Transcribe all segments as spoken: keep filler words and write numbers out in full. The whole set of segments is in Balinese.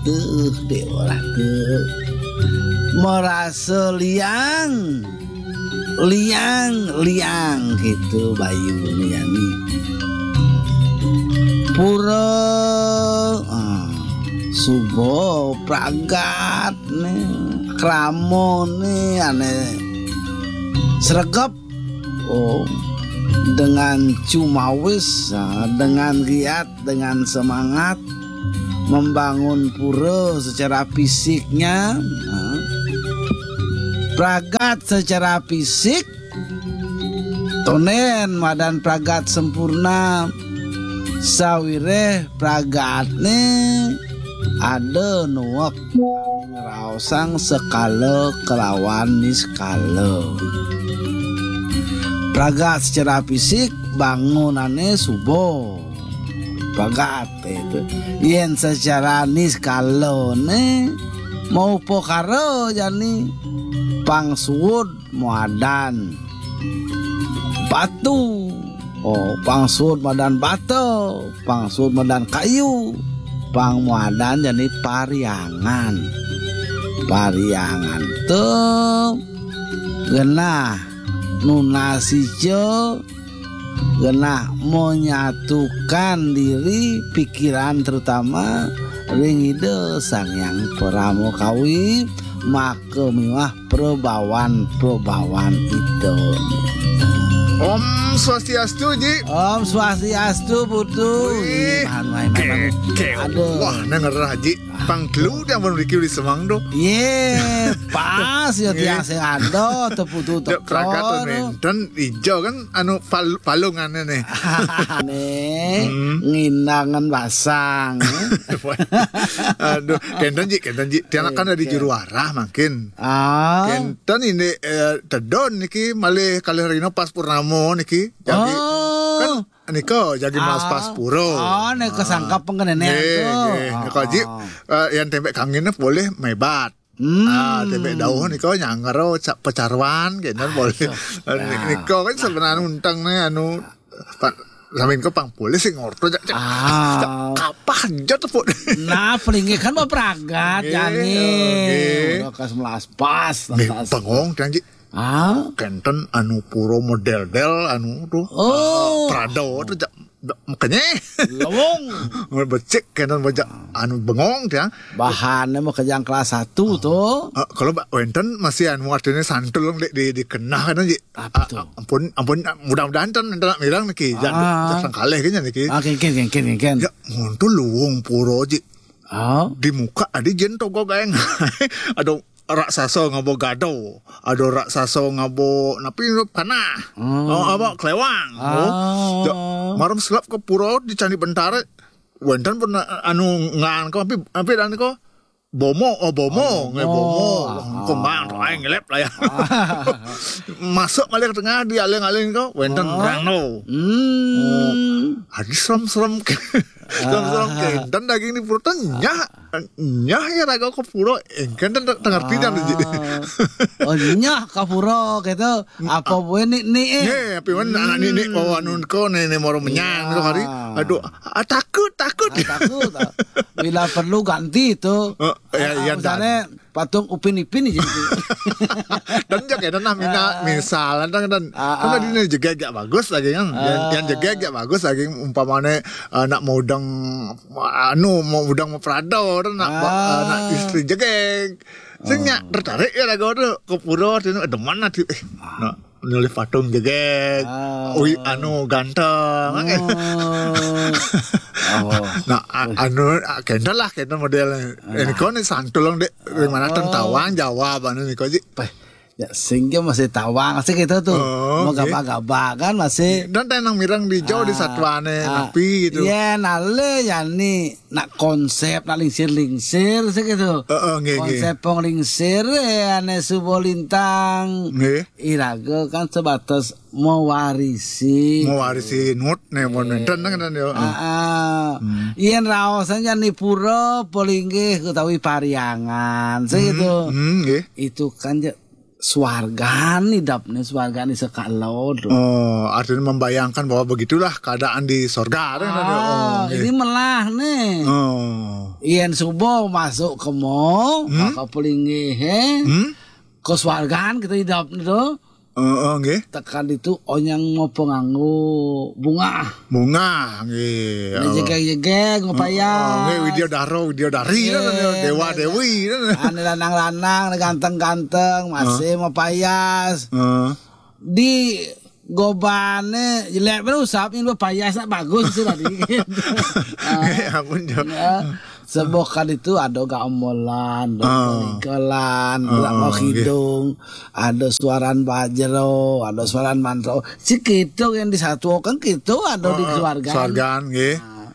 Tuh, deh, orang tuh merasa liang, liang, liang gitu bayu nih, ya nih. Pura, ah, suba pragat nih, krama nih, ane sregep. Oh, dengan cumawis, ah, dengan giat, dengan semangat membangun pura secara fisiknya, ah, pragat secara fisik, tonden madan pragat sempurna, sawiréh pragatné ada nuwek ngraosang sekala kelawan niskala. Pragat secara fisik bangunané suba. Pragat itu. Yén secara niskalané maupakara jani pang suud madan batu. Oh, pang suud madan bata, pang suud madan kayu, pang madan jani pariangan. Pariangan tuh genah nunas ica, genah menyatukan diri pikiran terutama ring Ida Sang Hyang Parama Kawi, maka miwah prabawan-prabawan Ida. Om Swastiastu, Ji. Om Swastiastu, Putu. Wih, Ih, mahan, mahan, mahan. Ke, ke, Aduh. Wah, nang ngerah, Ji. Pang telu dia mun mriki uli semang tuh. Yé, pas ya Nggih. Tiang sing ada teputu Dek teko pragat tuh. Nénten ijo kan anu pal-, palungané nih. Nih, Hmm. Nginangan basang. Aduh, kénten Ji, kénten Ji. Tiang kan ada di Oke. Juru arah mungkin. Ah. Kénten ini, eh, tedon niki malih kalih rina pas purnama niki. Jadi, Oh. Kan nika jagi melas Ah. Pas pura. Oh, nika Ah. Sangkep pengkenéné Nggih, tuh. Nggih. Nika, Ji, Ah. Eh, yang témbék kanginé boleh mébat. Hmm. Ah, témbék dauh nika nyangger ca-, pecaruan kénten boleh. Aduh. Eh, ni-, Nika kan sebenarnya unteng nih anu pa-, sami nika pang polih sing ngorto jak, jak, Ah. Jak kapah jot tepuk. Nah, pelinggih kan mau pragat Nggih, jani. Nggih. Udah kelas melas pas, Nggih, tas. Bengong kan, Ji. Ah. Kénten anu pura modél-dél anu tuh. Oh. Ah, Prado tuh ja-, ja-, makanya. Lawong. Becik kénten baja anu bengong ya. Bahannya mah kejang kelas satu tuh. Ah, kalau ba-, wénten masih anu artinya santul di, di, dikenah kan, Ji. Apa Ah, tuh? Ah, ampun, ampun, mudah-mudahan kan enten nak mirang niki. Jan, Ah. Jan sangkalih kayaknya niki. Ah, kénkén, kénkén, kénkén. Ya, mun tuh luwung pura, Ji. Ah. Di muka ada jén togo gaeng. Ada raksasa ngaba gado, ada raksasa ngaba napi panah. Hmm. Oh, apa kelewang. Ah. Oh. Ja, maram selap ke pura di Candi Bentara. Wénten pun anu ngan ko api, api dan ko bomo, oh bomo, Oh, nggih bomo. Bomo. Ah. Kembang to aing ngelep lah ya. Ah. Masuk malih ke tengah di aling-aling ko, wénten Ah. Rano. Hmm. Oh. Adi serem-serem. Serem-serem Ah. Kénten daging di pura nyah. Nyah ya raga ke pura, éngkén ten tengerti jan, Ji. Ah. Oh, nyah ke pura gitu. Apa bué ni, ni, eh? Nggih, api wan anak Hmm. nini, oh, anu ko, ni, ni moro menyang Iya. Ko hari. Aduh, ah, takut, takut. Ah, takut, ah. Bila perlu ganti itu. Oh, ya, Ah, iya, misalnya dan patung Upin Ipin aja gitu. Dan jaga dan nah, mina, Ah. Misal, dan, dan, Ah, kan ah. Tadi ini juga agak bagus lagi kan. Yang, Ah. Yang juga agak bagus lagi, umpamanya, eh, nak mau udang, anu, mau udang mau Prado, dan nak, Ah. Eh, nak istri jegeg. Sing nya tertarik ya lagu tu ke pura tu, demen nanti, eh, nak nulis patung jegeg. Ah. Ui, anu ganteng. Oh. Oh. Nah, a-, anu, a-, kénten lah, kénten model. Nah. Ini kau ni santul dong, Dek. Dari mana Oh. Tentawang jawab anu ni kau, Ji? Peh. Ya, sehingga masih tawang sih gitu tuh. Oh, Mau oke. Gabah-gabah kan masih. Dan tenang mirang di jauh di Ah, satuane ah, napi gitu. Iya, nale ya ni nak konsep, nak lingsir-lingsir sih gitu. Heeh, nggih, nggih. Konsep pong lingsir ya ane subo lintang. Nggih. Iraga kan sebatas mewarisi. Mewarisi nut ne mon Nggih. Wénten kan yo. Ah, ah. Hmm. Yen raosan ya ni pura, pelinggih utawi pariangan sih Hmm, gitu. Hmm, nggih. Itu kan ya swargan idapne, swargan di sekalo. Oh, artinya membayangkan bahwa begitulah keadaan di sorga, kan, Ah, oh, ini nggih. Melah nih. Oh. Yén subuh masuk ke mall, hmm? Ka pelinggih, eh. Hmm? Ke swargan kita hidup itu. Heeh, nggih. Tekan itu onyang mau penganggu bunga. Bunga, nggih. Ini jegeg-jegeg, mau payas. Heeh, nggih, Widya Dara, Widya Dari, nggih, dewa dewi. Ane lanang-lanang, ane ganteng-ganteng, masih mau payas. Heeh. Di gobane jelek bener usap, ini payas nak bagus sih tadi. Nggih, ampun, Jo. Ya, sebuah kan itu ada gamelan, ada peligelan, ada mau hidung, ada suaran bajero, ada suaran mantro. Si kidung yang disatukan gitu ada di keluarga. Keluarga, nggih. Nah,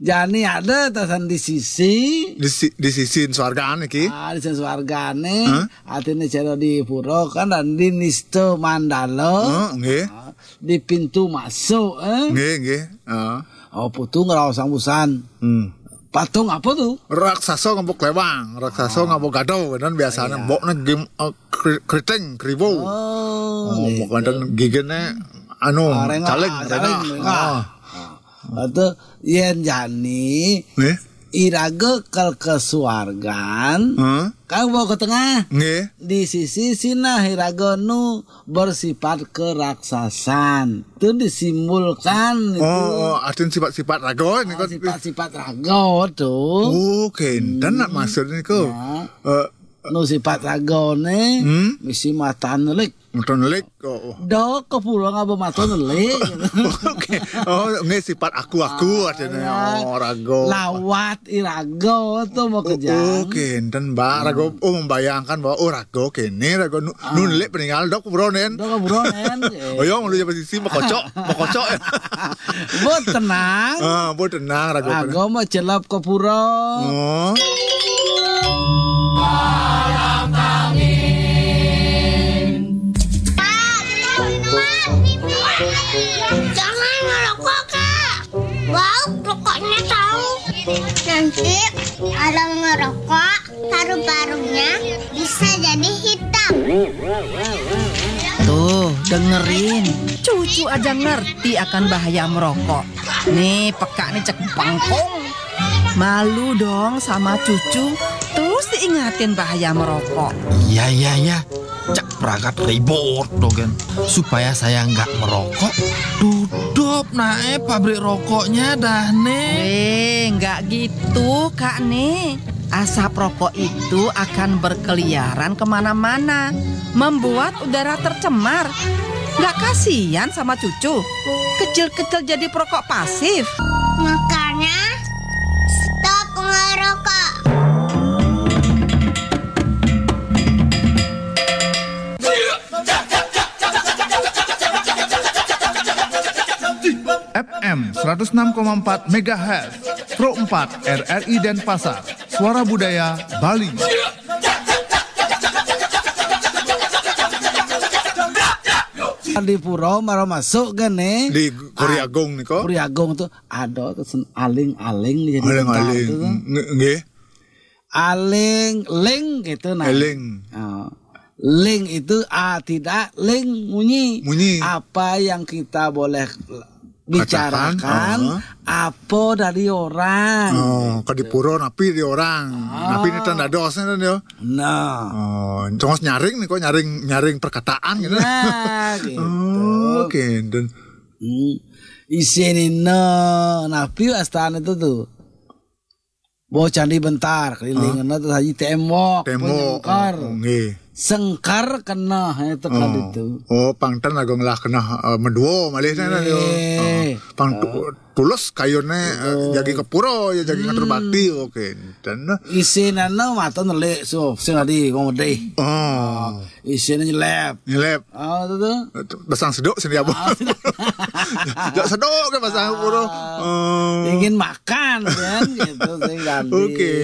jani ada tasan di sisi. Di si-, di sisi swargane iki. Ah, di sisi swargane. Hah? Artine cara di pura kan dan di nista mandala. Heeh, nggih. Ah, di pintu masuk, eh. Nggih, nggih. Heeh. Oh, putu ngraos sang busan. Hmm. Patung apa tuh? Raksasa ngapa klewang, raksasa ngapa gadau, kan biasanya mbokne game, eh, kri-, kriting, kriwo. Oh, gitu. Mbok wonten gigene anu, caling, rengah. Rengah. Ah. Atau yen jani iraga kal ke suargan, kan bawa ke tengah. Nggih. Di sisi sinah iraga nu bersifat keraksasan. Itu disimbolkan itu. Oh, oh, artinya sifat-sifat raga ini. Ah, kan sifat-sifat raga tuh. Oh, kenten nak maksud niku. Ya. Eh, nu sifat ragane, hmm? Misi mata nelik. Mata nelik, oh, oh. Dok ke pulau ngapa mata nelik. Oke. Oh, nggih sifat aku-aku artinya. Ya. Oh, raga. Lawat iraga tuh mau kerja. Oh, kenten, Mbak. Raga, oh, membayangkan bahwa, oh, raga kene, raga nu, nu nelik peninggal, dok buronen. Dok buronen. Oh, ya, malu jadi sisi, mau kocok, mau kocok. Mbok tenang. Ah, mbok tenang, raga. Raga mau celap ke pura. Oh. Jangan ngerokok, Kak. Bau rokoknya tahu. Nanti orang ngerokok, paru-parunya bisa jadi hitam. Tuh, dengerin. Cucu aja ngerti akan bahaya merokok. Nih, peka nih cek bangkong. Malu dong sama cucu. Terus diingatin bahaya merokok. Iya, iya, iya. Cak pragat ribut dogen. Supaya saya nggak merokok, tutup nae pabrik rokoknya dah, Nek. Eh, nggak gitu, Kak, nih. Asap rokok itu akan berkeliaran kemana-mana, membuat udara tercemar. Nggak kasihan sama cucu? Kecil-kecil jadi perokok pasif. Makanya, stop ngerokok. F M seratus enam koma empat megahertz, Pro empat R R I Denpasar, Suara Budaya Bali. Di pura mara masuk kan, eh? Di Kori Agung nih kok. Kori Agung tuh ada tuh sen-, aling-aling jadi aling-aling. Nggih. Aling, ling gitu nah. Eling. Oh. Ling itu, ah, tidak, ling, munyi. Munyi. Apa yang kita boleh bicarakan, apa dari orang. Oh, ke di pura napi di orang. Napi ini tanda dosnya kan ya. Nah. Oh, cuma nyaring nih kok, nyaring, nyaring perkataan gitu. Nah, gitu. Oh, kenten. Hmm. Isin ini napi wastan itu tuh. Bawa candi bentar, keliling kena terus haji tembok, tembok, penyengkar. Oh, nggih. Sengkar kena itu kan itu. Oh, pangten lagu ngelah kena, eh, medua malih sana dia. Eh, pang tu-, tulus kayune, eh, jagi ke pura ya, jagi ngatur bakti, oke. Dan isinana mata nelik so sing tadi wong medih. Oh. Isine nyelep. Nyelep. Ah, itu tuh. Basang seduk sini apa? Ah, seduk. Seduk ke basang pura. Ah. Oh. Ingin makan kan gitu sing ganti. Oke.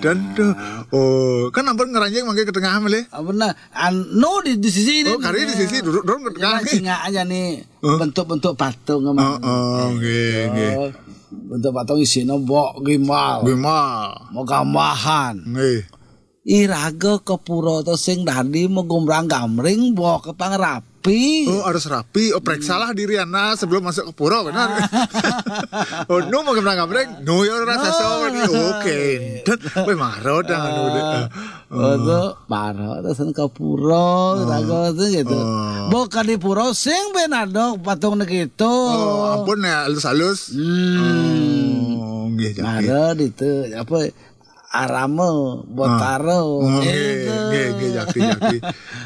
Dan tuh, oh, kan ampun ngeranjing mangke ke tengah malih. Ah, bener. Anu di, di sisi ini. Oh, kari di sisi duduk dong ke tengah. Cuma singa aja nih. Huh? Bentuk-bentuk patung emang. Oh, oh, nggih, nggih. Bentuk patung isine mbok gimbal. Gimbal. Mau gambahan. Nggih. Iraga ke pura to sing dadi megumbrang gamring, mbok ke pangrapi. rapi. Oh, harus rapi. Oh, periksalah diri anda sebelum masuk ke pura, benar. Oh, nu mau gambreng-gambreng, nu ya rasa sowan. Oke, dan weh, maro dah anu deh. Oh, tu maro dah sen ke pura, raga tu gitu. Oh. Bukan di pura sing ben ada patung gitu. Oh, ampun ya, halus-halus. Hmm. Oh, nggih, jaki. Maro ditu apa, arama, botaro. Oh, nggih, gitu. Nggih, nggih, jaki, jaki.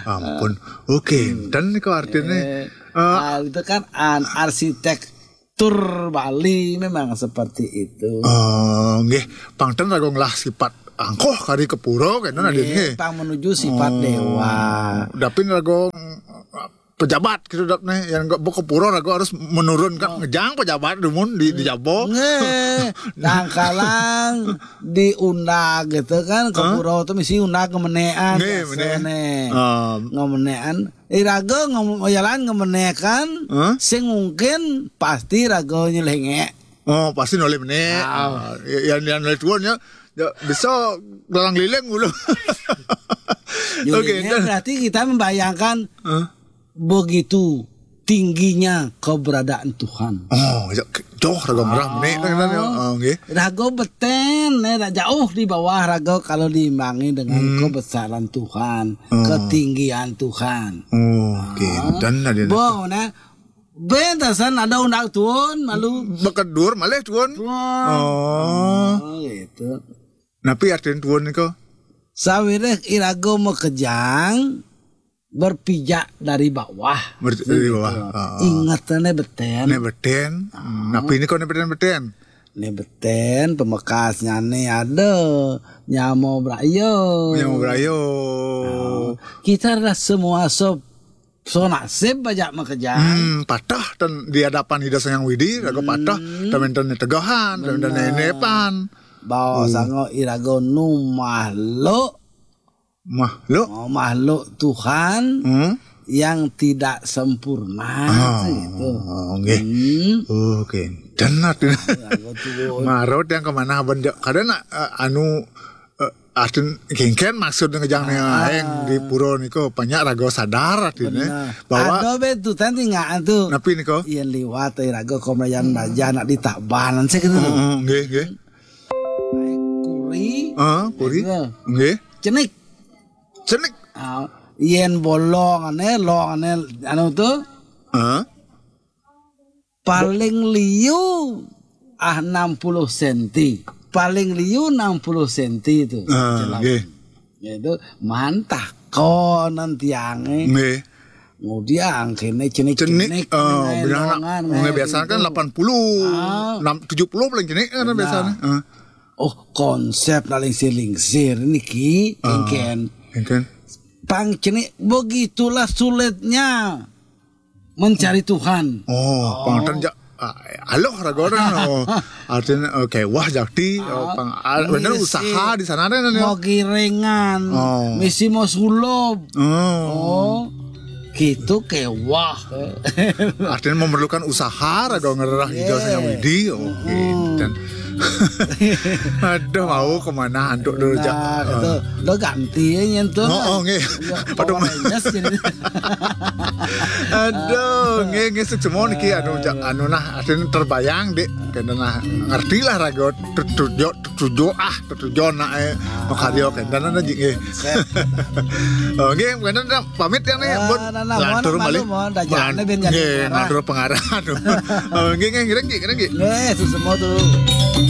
Ampun. Oke, dan niku artine, eh, ah, itu kan an arsitektur Bali memang seperti itu. Oh, nggih, pang ten raga ngelah sipat angkoh kari ke pura kena nggih, nggih. Pang menuju sifat dewa. Dapin raga pejabat gitu dap nih, yang nggak ke pura raga harus menurunkan ngejang pejabat dumun di, di jaba. Nggih, kadang-kadang diundang gitu kan, ke pura tuh mesti undang ngemenean. Nggih, biasa meneh. Nih. Ah. Ngemenean. Iraga ngom-, jalan ngemenekan, sing mungkin pasti raga nyelengek. Oh, pasti noleh meneh. Ah. Ah, ya, yang, yang noleh tuan ya, ya, bisa gelang liling dulu. Oke, nyelengek dan berarti kita membayangkan begitu tingginya keberadaan Tuhan. Oh, ya, ke-, jauh raga merah meneh, kan, kan, ya. Oh, nggih. Raga beten, eh, dah jauh di bawah raga kalau diimbangi dengan kebesaran Tuhan, ketinggian Tuhan. Oh, oke. Dan ada. Bo, nah, bentasan ada undang tuan, malu. Bekedur malih tuan. Tuan. Oh. Oh, gitu. Napi artin tuan niku? Sawireh iraga makejang, berpijak dari bawah. Ber-, dari bawah. Gitu. Ah. Ingetane beten. Nek beten. Ah. Napi niku nek beten-beten? Nek beten pamekasnyane ada nyama braya. Nyama braya. Ah. Kita adalah semua so, so nasib bajak makejang. Hmm, patah ten di hadapan Ida Sang Hyang Widi, raga patah, ten wenten tegahan, ten wenten nenepan. Bawa sanga iraga nu makhluk. Makhluk? Oh, makhluk Tuhan yang tidak sempurna, gitu. Oh, nggih. Hmm. Oh, oke. Dan artine maro yang kemana benda kadang nak, eh, anu, eh, artin kengken maksud ngejang aeng di pura niku banyak raga sadar artine bahwa ada be tu tadi nggak tu. Napi niku? Yen liwat, eh, raga komrayan baja nak ditabanan sih gitu. Oh, oh, nggih, nggih. Kuri. Ah, kuri. Nggih. Cenik. Cenik. Ah, yen bolongane, longane anu tu. Ah. Paling liu ah enam puluh senti. Paling liu enam puluh senti tu. Ah, nggih. Itu mantah konan tiange. Nggih. Ngudiang kene cenik-cenik, cenik, eh, benar, nak. Longan, nggih, biasanya kan gitu. Delapan puluh, ah, enam, tujuh puluh paling cenik kan biasanya. Benar. Eh. Oh, konsep nak lingsir-lingsir niki, ah, engken. Engken. Pang cenik, begitulah sulitnya mencari Tuhan. Oh, pang ten ja-, ah, aloh raga orang. Oh, artinya, oh, kewah jakti, oh, pang, ah, bener misi usaha di sana ada nih. Mau giringan, oh, misi mau sulup. Oh. Oh, gitu kewah. Artinya memerlukan usaha, raga ngererah Ida Sang Hyang Widi. Oke, dan aduh, mau kemana antuk dulu, jak. Nah, gitu. Lo ganti ya nyentuh. Oh, oh, nggih. Ya, Power Rangers jadi. Aduh, nggih, nggih, sukses mawon niki, anu, jak, anu nah, artinya terbayang, Dik. Kena nah, ngerti lah raga, tujuh, tujuh, ah, tujuh nak, eh, makarya kenten niki, nggih. Oh, nggih, kenten nah, pamit ya nih, ah, pun nah, nah, lantur malih. Mohon, mohon, dah jangan, nggih, pengarah. Lantur pengarah. Oh, nggih, nggih, nggih, nggih, nggih. Nggih, sukses mawon tuh.